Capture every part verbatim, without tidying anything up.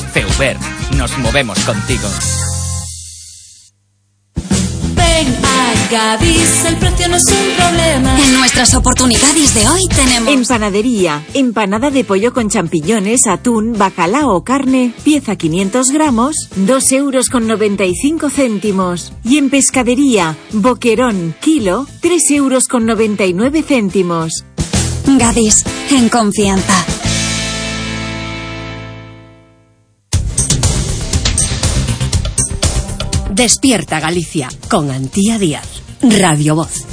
Feuber, nos movemos contigo. Ven a Gadis, el precio no es un problema. En nuestras oportunidades de hoy tenemos... En panadería, empanada de pollo con champiñones, atún, bacalao o carne, pieza quinientos gramos, dos euros con noventa y cinco céntimos. Y en pescadería, boquerón, kilo, tres euros con noventa y nueve céntimos. Gadis, en confianza. Despierta Galicia, con Antía Díaz, Radio Voz.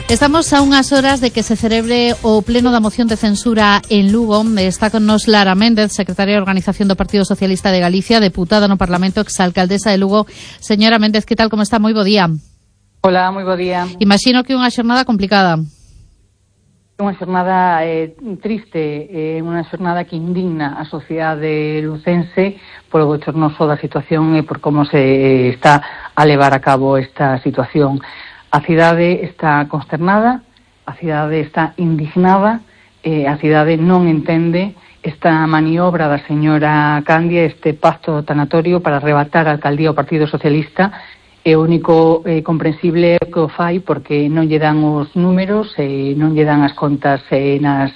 Estamos a unhas horas de que se celebre o pleno da moción de censura en Lugo. Está con nos Lara Méndez, secretaria de Organización do Partido Socialista de Galicia, deputada no Parlamento, exalcaldesa de Lugo. Señora Méndez, que tal, como está? Moi bo día. Hola, moi bo día. Imagino que unha xornada complicada. Unha xornada eh, triste, eh, unha xornada que indigna a sociedade lucense polo bochornoso da situación e por como se está a levar a cabo esta situación. A cidade está consternada, a cidade está indignada, eh, a cidade non entende esta maniobra da señora Candia, este pacto tanatorio para arrebatar a alcaldía ao Partido Socialista. É o único eh, comprensible que o fai porque non lle dan os números, eh, non lle dan as contas eh, nas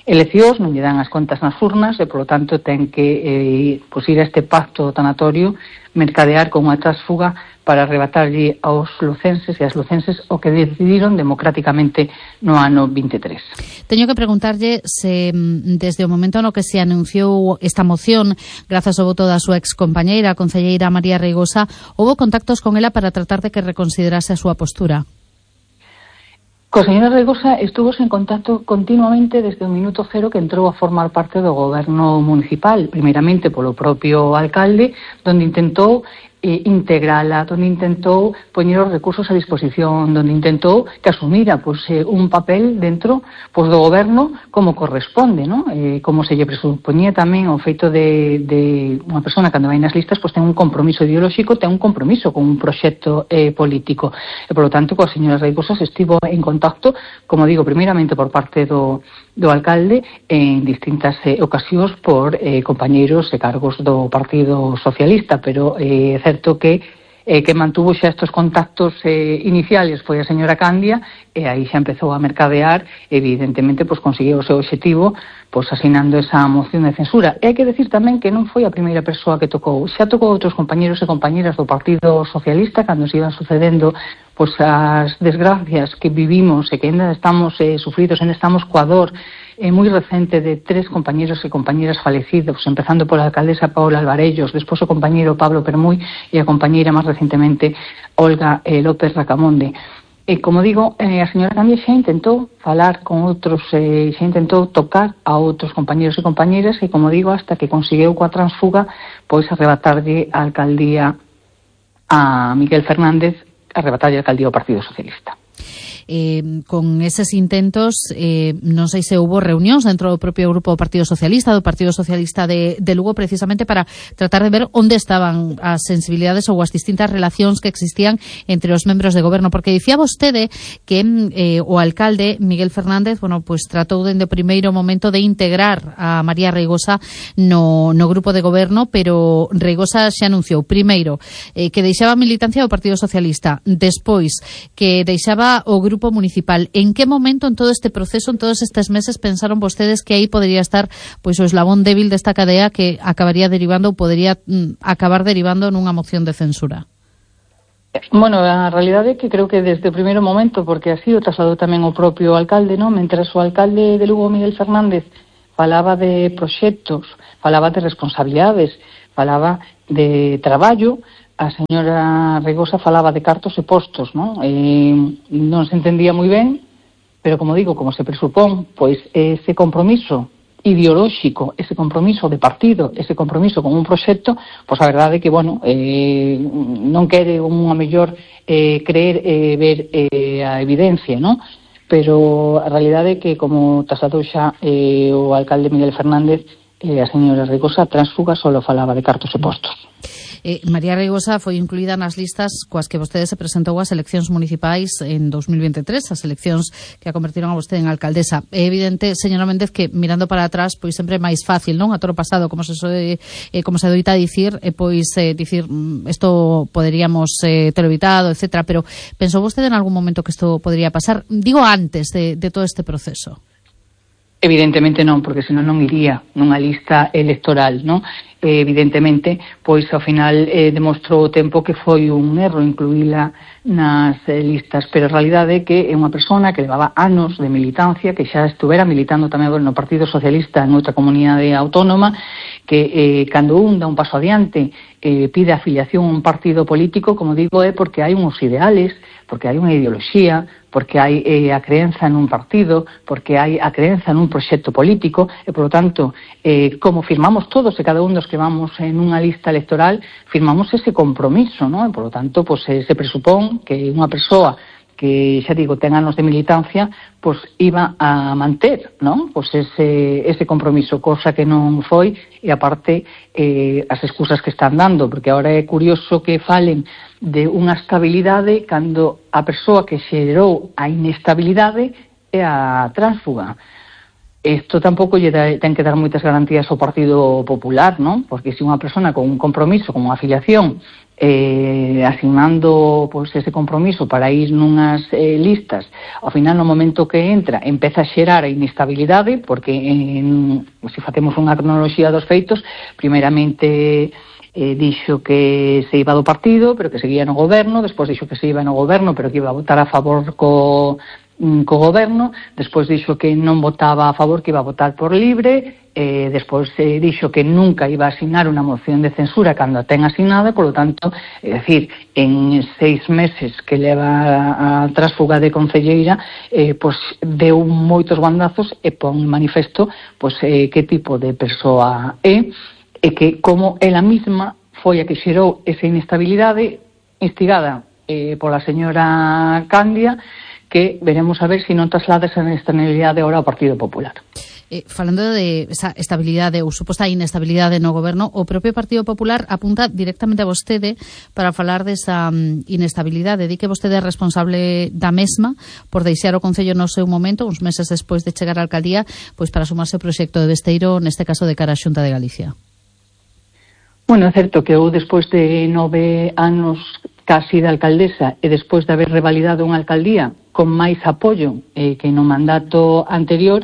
eleccións, non lle dan as contas nas urnas e, polo tanto, ten que eh, pues, ir a este pacto tanatorio, mercadear con unha trasfuga para arrebatarlle aos lucenses e as lucenses o que decidiron democráticamente no ano vinte e tres. Teño que preguntarlle se desde o momento no que se anunciou esta moción, grazas ao voto da súa excompañeira, a concelleira María Reigosa, houbo contactos con ela para tratar de que reconsiderase a súa postura? Co señora Reigosa estuvo en contacto continuamente desde o minuto cero que entrou a formar parte do goberno municipal, primeiramente polo propio alcalde, donde intentou eh, integrala, donde intentou poñer os recursos a disposición, donde intentou que asumira pues, eh, un papel dentro pues, do goberno como corresponde, ¿no? Eh, como se lle presupoñía tamén o feito de, de unha persona cando vai nas listas pues, ten un compromiso ideolóxico, ten un compromiso con un proxecto eh, político. E, por lo tanto, coa señora Reigosa se estivo en contacto, como digo, primeiramente por parte do, do alcalde en distintas eh, ocasións por eh, compañeiros e cargos do Partido Socialista, pero é eh, certo que eh, que mantuvo xa estos contactos eh, iniciales foi a señora Candia e aí xa empezou a mercadear, evidentemente pues, conseguiu o seu objetivo pues, asinando esa moción de censura. E hai que decir tamén que non foi a primeira persoa que tocou, xa tocou outros compañeros e compañeras do Partido Socialista cando se iban sucedendo pues, as desgracias que vivimos e que ainda estamos eh, sufridos, ainda estamos coa dor eh, moi recente de tres compañeros e compañeras falecidos, empezando pola alcaldesa Paola Alvarellos, despois o compañeiro Pablo Permuy e a compañeira máis recentemente Olga eh, López Racamonde. E, como digo, eh, a señora Candia xa intentou falar con outros, eh, xa intentou tocar a outros compañeros e compañeras e, como digo, hasta que conseguiu coa transfuga pois arrebatarlle a alcaldía a Miguel Fernández, arrebatarlle a alcaldía ao Partido Socialista. Eh, con eses intentos eh, non sei se houbo reunións dentro do propio grupo do Partido Socialista, do Partido Socialista de, de Lugo, precisamente para tratar de ver onde estaban as sensibilidades ou as distintas relacións que existían entre os membros de goberno, porque dicía vostede que eh, o alcalde Miguel Fernández, bueno, pues tratou dende o primeiro momento de integrar a María Reigosa no, no grupo de goberno, pero Reigosa xa anunciou primeiro eh, que deixaba a militancia do Partido Socialista, despois que deixaba o grupo municipal. En que momento en todo este proceso, en todos estes meses, pensaron vostedes que aí podería estar pois o eslabón débil desta cadea que acabaría derivando ou podería mm, acabar derivando nunha moción de censura? Bueno, a realidade é que creo que desde o primeiro momento, porque así o trasladou tamén o propio alcalde, non? Mentras o alcalde de Lugo, Miguel Fernández, falaba de proxectos, falaba de responsabilidades, falaba de traballo, a señora Reigosa falaba de cartos e postos, non? Eh, non se entendía moi ben, pero, como digo, como se presupón, pois ese compromiso ideolóxico, ese compromiso de partido, ese compromiso con un proxecto, pois a verdade é que, bueno, eh, non quere unha mellor eh, creer e eh, ver eh, a evidencia, non? Pero a realidade é que, como trasladou xa eh, o alcalde Miguel Fernández, eh, a señora Reigosa transfuga solo falaba de cartos e postos. Eh, María Reigosa foi incluída nas listas coas que vostede se presentou ás eleccións municipais en dos mil veintitrés, as eleccións que a convertiron a vostede en alcaldesa. É evidente, señora Méndez, que mirando para atrás, pois sempre é máis fácil, non? A toro pasado, como se soe, eh, como se doita dicir, e eh, pois eh, dicir, isto poderíamos eh, ter evitado, etcétera, pero pensou vostede en algún momento que isto podría pasar? Digo antes de, de todo este proceso. Evidentemente non, porque senón non iría nunha lista electoral, non? Eh, evidentemente, pois ao final eh, demostrou o tempo que foi un erro incluíla nas eh, listas, pero a realidade é que é unha persona que levaba anos de militancia, que xa estuvera militando tamén no Partido Socialista en outra comunidade autónoma, que eh, cando un dá un paso adiante eh, pide afiliación a un partido político, como digo, é porque hai uns ideales, porque hai unha ideoloxía, porque hai eh, a creenza nun partido, porque hai a creenza nun proxecto político, e, por lo tanto, eh, como firmamos todos e cada un dos que vamos en unha lista electoral, firmamos ese compromiso, non? E, por lo tanto, pues, eh, se presupón que unha persoa que, xa digo, ten anos de militancia, pois iba a manter, non? Pois ese, ese compromiso, cosa que non foi, e aparte eh, as excusas que están dando, porque agora é curioso que falen de unha estabilidade cando a persoa que xerou a inestabilidade é a tránsfuga. Isto tampouco lle da, ten que dar moitas garantías ao Partido Popular, non? Porque se unha persona con un compromiso, con unha afiliación, eh, asignando pois, ese compromiso para ir nunhas eh, listas, ao final no momento que entra empeza a xerar a inestabilidade, porque en, se facemos unha cronoloxía dos feitos, primeiramente eh, dixo que se iba do partido, pero que seguía no goberno, despois dixo que se iba no goberno, pero que iba a votar a favor co co goberno, despois dixo que non votaba a favor, que iba a votar por libre, eh, despois eh, dixo que nunca iba a asignar unha moción de censura cando a ten asignada, por lo tanto, é dicir, en seis meses que leva a trásfuga de concelleira, eh, pois deu moitos bandazos e pon manifesto pois, eh, que tipo de persoa é, e que como ela mesma foi a que xerou esa inestabilidade instigada eh, pola señora Candia, que veremos a ver se si non traslada esa inestabilidade agora ao Partido Popular. Eh, falando de esa estabilidade ou suposta inestabilidade no goberno, o propio Partido Popular apunta directamente a vostede para falar desa um, inestabilidade. Di que vostede é responsable da mesma por deixar o Concello no seu momento, uns meses despois de chegar á alcaldía, pois para sumarse ao proxecto de Besteiro, neste caso de cara á Xunta de Galicia. Bueno, é certo que eu, despois de nove anos casi de alcaldesa e despois de haber revalidado unha alcaldía con máis apoio eh, que no mandato anterior,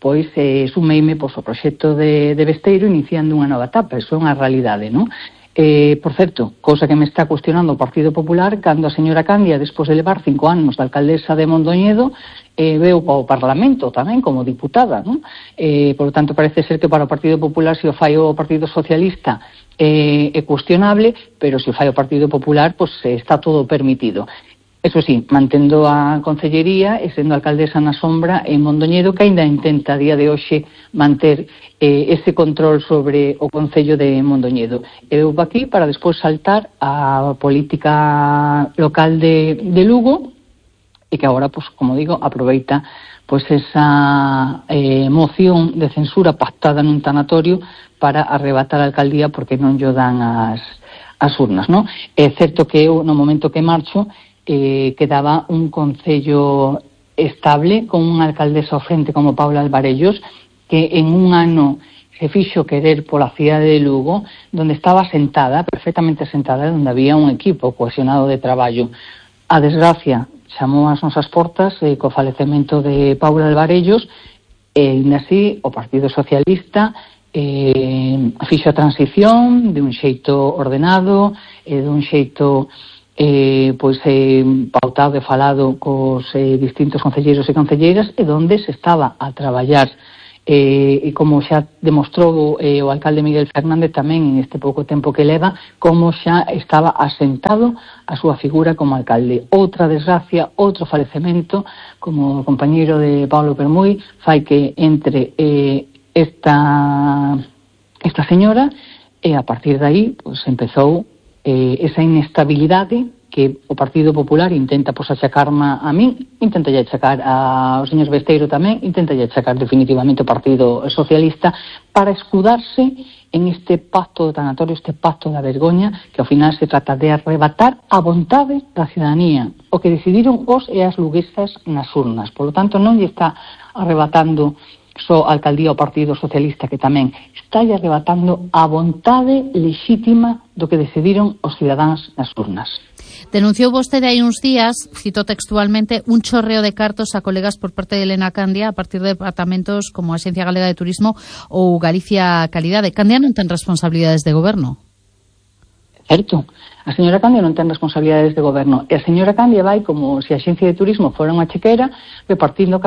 pois eh, sumeime pois, ao proxecto de, de Besteiro iniciando unha nova etapa. Eso é unha realidade, non? Eh, por certo, cousa que me está cuestionando o Partido Popular, cando a señora Candia, despois de levar cinco anos de alcaldesa de Mondoñedo, eh, veu ao Parlamento tamén como diputada, non? Eh, por lo tanto, parece ser que para o Partido Popular, se o fai o Partido Socialista, eh, é cuestionable, pero se o fai o Partido Popular, pois eh, está todo permitido. Eso sí, mantendo a concellería e sendo alcaldesa na sombra en Mondoñedo, que aínda intenta a día de hoxe manter eh, ese control sobre o Concello de Mondoñedo. Eu vou aquí para despois saltar a política local de, de Lugo, e que agora, pues, como digo, aproveita pues, esa eh, moción de censura pactada nun tanatorio para arrebatar a alcaldía porque non lle dan as, as urnas, non? É certo que eu, no momento que marcho, Eh, quedaba un concello estable con unha alcaldesa ao frente como Paula Alvarellos, que en un ano se fixo querer pola cidade de Lugo, donde estaba sentada, perfectamente sentada, donde había un equipo cohesionado de traballo. A desgracia chamou as nosas portas eh, co falecemento de Paula Alvarellos, e ainda así o Partido Socialista eh, fixo a transición de un xeito ordenado, e eh, de un xeito Eh, pois eh, pautado e falado cos eh, distintos concelleiros e concelleiras, e donde se estaba a traballar eh, e como xa demostrou eh, o alcalde Miguel Fernández tamén en este pouco tempo que leva, como xa estaba asentado a súa figura como alcalde. Outra desgracia, outro falecemento, como o compañeiro de Pablo Permuy, fai que entre eh, esta esta señora, e a partir de aí pues, empezou Eh, esa inestabilidade que o Partido Popular intenta pois achacarma a min, intenta lle achacar ao señor Besteiro tamén, intenta lle achacar definitivamente o Partido Socialista para escudarse en este pacto de tanatorio, este pacto da vergoña, que ao final se trata de arrebatar a vontade da ciudadanía, o que decidiron os e as luguesas nas urnas. Por lo tanto, non lle está arrebatando só a alcaldía ao Partido Socialista, que tamén está arrebatando a vontade lexítima do que decidiron os cidadáns nas urnas. Denunciou vostede hai uns días, cito textualmente, un chorreo de cartos a colegas por parte de Elena Candia a partir de departamentos como a Axencia Galega de Turismo ou Galicia Calidade. Candia non ten responsabilidades de goberno. Certo. A señora Candia non ten responsabilidades de goberno. E a señora Candia vai como se a Axencia de Turismo fora unha chequera repartindo cartos